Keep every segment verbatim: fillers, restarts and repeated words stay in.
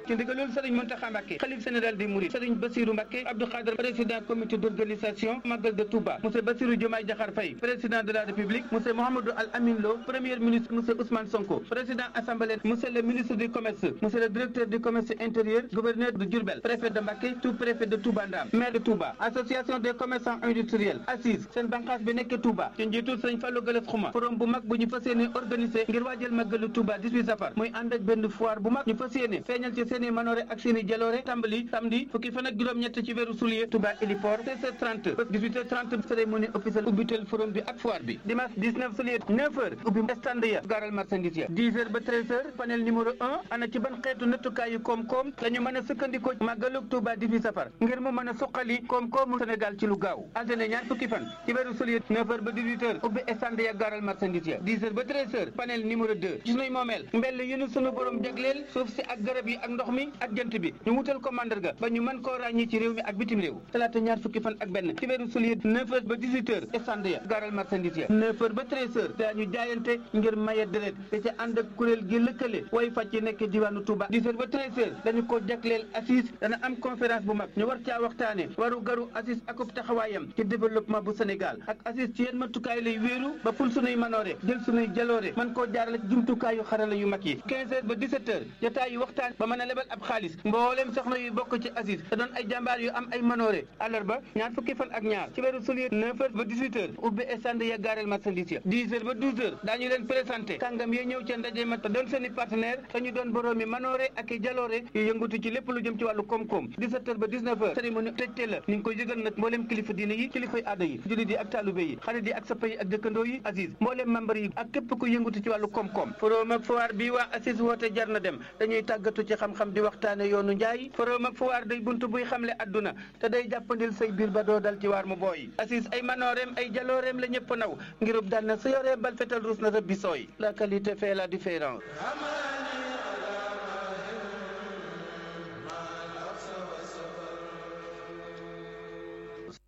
ci ndigalul Serigne Mountakha Mbacké xalif général des Mourides Serigne Bassirou Mbacké Abdou Khadre président comité d'organisation Magal de Touba monsieur Bassirou Diomaye Diakhar Faye président de la République monsieur Mouhamadou Al Amin Lo premier ministre monsieur Ousmane Sonko président assemblée monsieur le ministre du commerce monsieur le directeur du commerce intérieur gouverneur de Diourbel préfet de Mbacké sous-préfet de Touba Ndam maire de Touba association des commerçants industriels assise seen banqaas bi nekk Touba ci njiitul Serigne Fallou Galass Khouma forum bu mag bu ñu fas yéene organisé ngir waajal Magalu Touba dix-huit safar muy ànd ak benn foire bu mag ñu fas yéene feeñal ci seeni manoore ak seeni jaloore tàmbali samedi fukki fan ak juróom-ñett ci weeru juillet Touba héliport seize heures trente ba dix-huit heures trente cérémonie officielle ubbitel forum bi ak foire bi dimanche dix-neuf juillet neuf heures ubbi stand ya gaaral marchandise ya dix heures ba treize heures panel numéro un ana ci ban xeetu nattukaayu koom-koom la ñu mën a sukkandikoo Magalu Touba dix-huit safar ngir mu mën a suqali koom-koomu Sénégal ci lu gaaw altine ñaar fukki fan ci weeru juillet neuf heures ba dix-huit heures ubbi stand ya gaaral marchandise ya dix heures ba treize heures panel numéro deux gis nañ moomeel mbell yu nu sunu borom jagleel suuf si ak garab yi ak ndox mi ak jant bi ñu wutal ko mandarga ba ñu mën koo ràññi ci réew mi ak bitim réew talaata ñaar fukki fan ak benn ci weeru juillet neuf heures ba dix-huit heures stand ya gaaral marchandise ya neuf heures ba treize heures daañu jaayante ngir maye deret te ca ànd ak kuréel gi lëkkale way fàcc yi nekk diwaanu Touba dix heures ba treize heures dañu ko jagleel assise dana am conférence bu mag ñu war caa waxtaane waru garu assise akub taxawaayam ci développement bu Sénégal ak assise ci yenn matukaay lay wéeru ba ful sunuy manoore jël sunuy jaloore man koo jaarale jumtukaayu xarala yu mag yi quinze heures ba dix-sept heures jotaay yu waxtaan ba mën a lebal ab xaalis mbooleem soxna yu bokk ci assise te doon ay jàmbaar yu am ay manoore àllarba ñaar fukki fan ak ñaar ci weeru juillet neuf heures ba dix-huit heures ubbi stand ya gaareel marchandise ya dix heures ba douze heures daañu leen présenté kàngam yi ñëw ca ndaje ma te doon seeni partenaire te ñu doon boroomi manoore ak i jaloore yu yëngutu ci lépp lu jëm ci wàllu koom-koom dix-sept heures ba dix-neuf heures cérémonie tëjte la ñu ngi koy yëgal nag mbooleem kilifa diine yi kilifay aada yi jullit yi ak taalube yi xarit yi ak sappa yi ak dëkkandoo yi assise mbooleem membre yi ak képp ku yëngutu ci wàllu koom-koom forum ak foire bi waa assise woote jar na dem dañuy tàggatu ci xam-xam di waxtaane yoonu njaay forum ak foire day buntu buy xamle adduna te day jàppandil say biir ba doo dal ci waar mu booy assise ay manooreem ay jalooreem la ñëpp naw ngirub daan na sa yoree bal fetal ruus na rëbbi sooy la qualité fait la différence.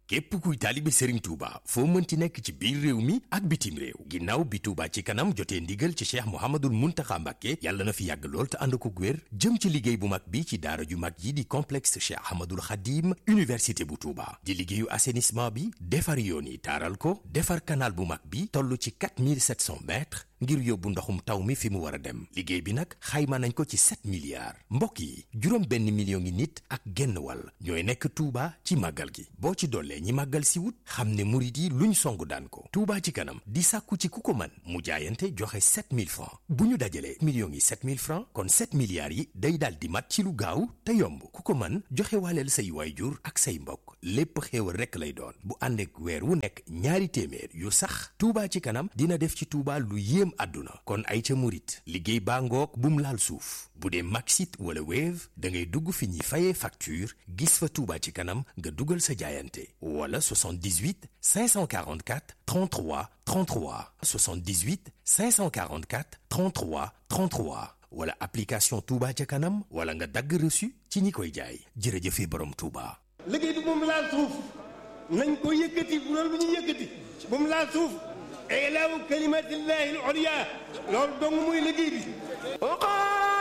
képp kuy taalibe Serigne Touba foo mënti nekk ci biir réew mi ak bitim réew ginnaaw bi Touba ci kanam jotee ndigal ci Cheikh Mouhamadoul Mountakha Mbacké yàlla na fi yàgg lool te ànd ko wér jëm ci liggéey bu mag bi ci daara ju mag yi di complexe Cheikh Ahmadoul Khadim université bu Touba di liggéeyu assainissement bi defar yoon yi taaral ko defar canal bu mag bi toll ci quatre mille sept cents mètres ngir yóbbu ndoxum taw mi fi mu war a dem liggéey bi nag xayma nañ ko ci sept milliards mbokk yi juróom benn million ngi nit ak genn wàll ñooy nekk Touba ci màggal gi boo ci dollee ñi màggal si wut xam ne murit yi luñ songu daan ko Touba ci kanam di sàkku ci ku ko man mu jaayante joxe sept mille francs bu ñu dajalee millions yi sept mille francs kon sept milliards yi day daal di mat ci lu gaaw te yomb ku ko man joxe waaleel say waayjur ak say mbokk lépp xéewal rekk lay doon bu ànd ak weer wu nekk ñaari téeméer yu sax Touba ci kanam dina def ci Touba lu yéem àdduna kon ay ca murit liggéey baa ngoog bum laal suuf bu dee Maxit wala Wave da ngay dugg fi ñuy fayee facture gis fa Touba ci kanam nga dugal sa jaayante wala soixante-dix-huit cinq cent quarante-quatre trente-trois trente-trois soixante-dix-huit cinq cent quarante-quatre trente-trois trente-trois wala application Touba ca kanam wala nga dagg reçu ci ñi koy jaay jërëjëfe borom Touba. liggéey bi moom laal suuf nañ ko yëkkati bu loolu bu ñu yëkkati moom laal suuf ilaahu kalimatillahi al-ulya loolu dong muy liggéey bi